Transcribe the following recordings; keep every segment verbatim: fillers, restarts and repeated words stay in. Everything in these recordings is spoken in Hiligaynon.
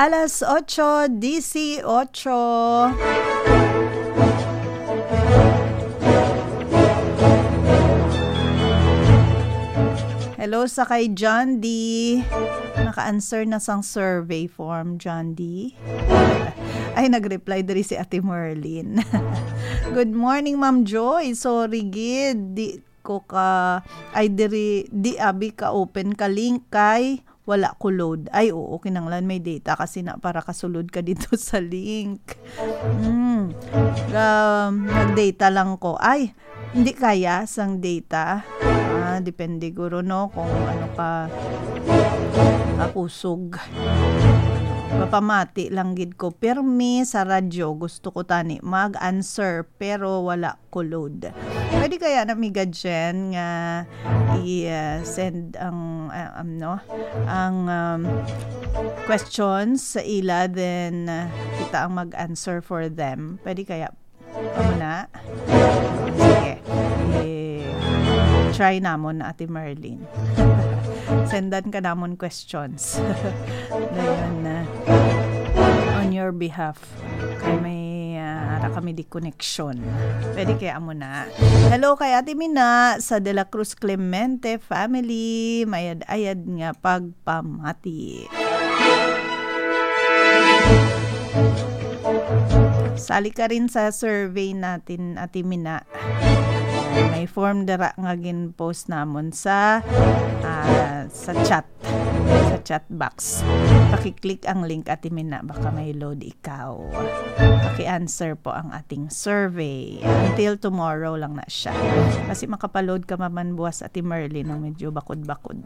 Alas ocho dieciocho. Hello sa kay John D. Naka-answer na sang survey form, John D. Ay, nag-reply diri si Ate Merlin. "Good morning, Ma'am Joy. Sorry gid, di ko ka, ay, diri, di abi ka open ka link kay wala ko load." Ay, oo, kinanglan may data kasi na para kasulod ka dito sa link. Mm. Um, nag-data lang ko. Ay, hindi kaya sang data. Ah, depende guro, no, kung ano ka kakusog. Papamati lang gid ko. Pirmi sa radyo, gusto ko tani mag-answer, pero wala ko load. Pwede kaya na, Miga Jen, nga i-, uh, send ang, uh, um, no, ang, um, questions sa ila, then, uh, kita ang mag-answer for them. Pwede kaya? Amo na? Sige. I-try namon, Ate Marlene. Sendan ka namon questions. Dayon, uh, on your behalf. Kay may, ah, ara kami di connection. Pwede kaya amo na. Hello kay Ate Mina sa De La Cruz Clemente family. Mayad-ayad nga pagpamati. Sali ka rin sa survey natin, Ate Mina. May form dira nga gin-post namon sa, ah, sa chat, sa chat box. Paki-click ang link, Ate Mina, baka may load ikaw. Paki-answer po ang ating survey. Until tomorrow lang na siya. Kasi makapaload ka maman buwas, Ate Merlin, no? Medyo bakod-bakod.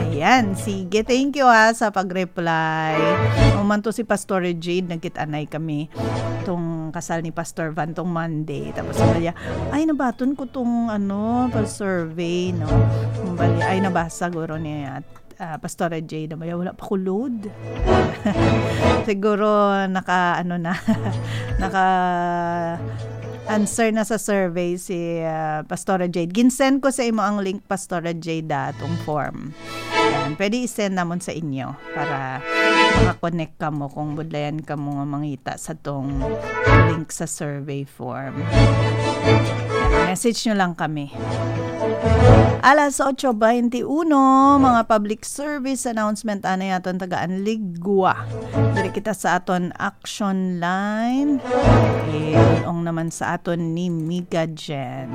Ayan, sige, thank you, ha, sa pag-reply. Umanto si Pastor Jade, nagkit-anay kami tong kasal ni Pastor Van tong Monday. Tapos sabi niya, "Ay, nabaton ko tong, ano, pag-survey, no?" Bali, ay, nabasa guro ni, ah, Pastora Jade na, "Wala pa ko load." Siguro naka, ano na, naka-answer na sa survey si, ah, Pastora Jade. Ginsend ko sa imo ang link, Pastora Jade, ah, tong form. Yan. Pwede i-send namon sa inyo para makakonect kamo kung budlayan kamo nga mangita sa tong link sa survey form. Message nyo lang kami. Alas ocho veintiuno, mga public service announcement anay aton tagaan ligwa. Diri kita sa aton action line. Idun-ong naman sa aton ni Miga Jen.